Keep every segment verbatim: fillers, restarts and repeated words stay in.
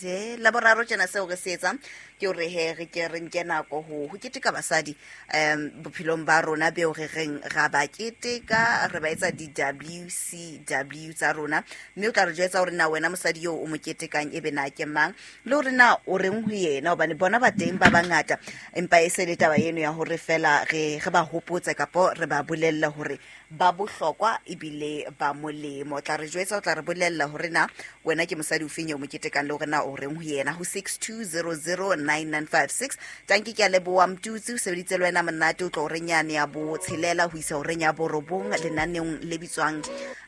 La boraro tjena seo re se etsang ke hore he re ke re nke nako ho ho keteka basadi um bophelong ba rona beo re reng ra ba keteka, re ba etsa di-W C W tsa rona. Mme o tla re jwetsa hore na wena mosadi eo o mo ketekang ebe na ke mang, le hore na o reng ho yena, hobane bona ba teng ba bangata, empa e se le taba eno ya hore fela re re ba hopotse kapo re ba bolelle hore ba bohlokwa ebile ba molemo. O tla re jwetsa, o tla re bolella hore na wena ke mosadi o feng eo mo ketekang le hore na o reng ho yena ho six two zero zero nine nine five six. Tanki ke a leboha Mtutsi, o sebeditse le wena monate, o tlo horeng yane ya botshelela ho isa horeng ya borobong lenaneong le bitswang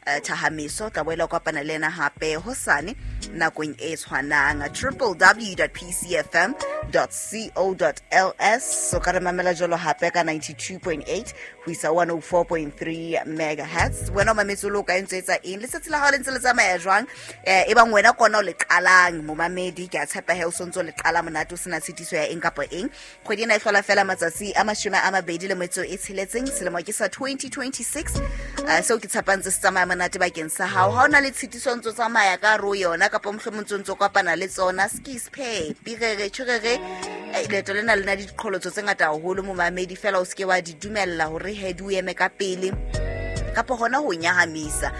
eh, Thahameso. Tla boela o kopana le yena hape hosane nakong e tshwanang. Triple w dot p c f m dot co dot l s. O ka re mamela jwalo hape ka ninety-two point eight ho isa one oh four point three megahertz. Wena o mametse o le o kae, ntse o etsa eng? Letsatsi la hao le ntse le tsamaya jwang? Eh, e bang wena kona o le qalang momamedi, ke a tshepa he o sontso le qala monate o sena tshitiso ya eng kapa eng. Kgwedi ena e hlola fela matsatsi a mashome a mabedi le metso e tsheletseng, selemo ke sa twenty twenty-six. Eh, seo ke tshepang se tsamaya monate bakeng sa hao. Ha o na le tshitiso ntso tsamaya ka hare ho yona, kapa mohlomong ntso ntso kopana le tsona, skis phe, pirere, tjhurere. Eh, leeto lena le na le diqholotso tse ngata haholo momamedi, fela o seke wa di dumella hore he di o eme ka pele kapa hona ho nyahamisa.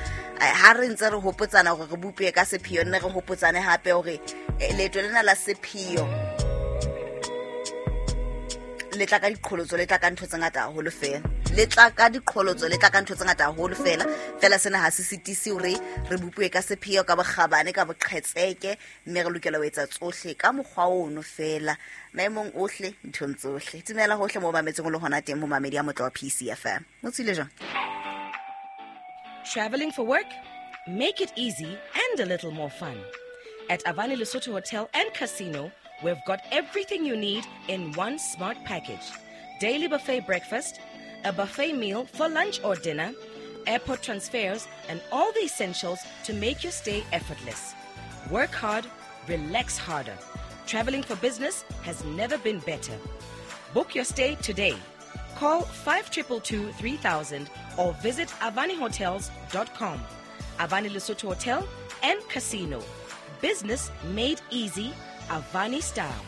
Eh, ha re ntse re hopotsana hore re bopuwe ka sepheo, nne re hopotsane hape hore, eh, leeto lena la sepheo le tla ka diqholotso, le tla ka ntho tse ngata haholo fela. Le tla ka diqholotso, le tla ka ntho tse ngata haholo fela. Fela sena ha se sitise hore re bopuwe ka sepheo, ka bokgabane, ka boqhetseke, mme re lokela ho etsa tsohle ka mokgwa ono fela, maemong ohle, nthong tsohle. Dumela hohle moo mametseng o le hona teng, momamedi ya motle wa P C F M. O tswile jwang? Traveling for work? Make it easy and a little more fun. At Avani Lesotho Hotel and Casino, we've got everything you need in one smart package. Daily buffet breakfast, a buffet meal for lunch or dinner, airport transfers, and all the essentials to make your stay effortless. Work hard, relax harder. Traveling for business has never been better. Book your stay today. Call five triple two three thousand or visit avani hotels dot com. Avani Lesotho Hotel and Casino. Business made easy, Avani style.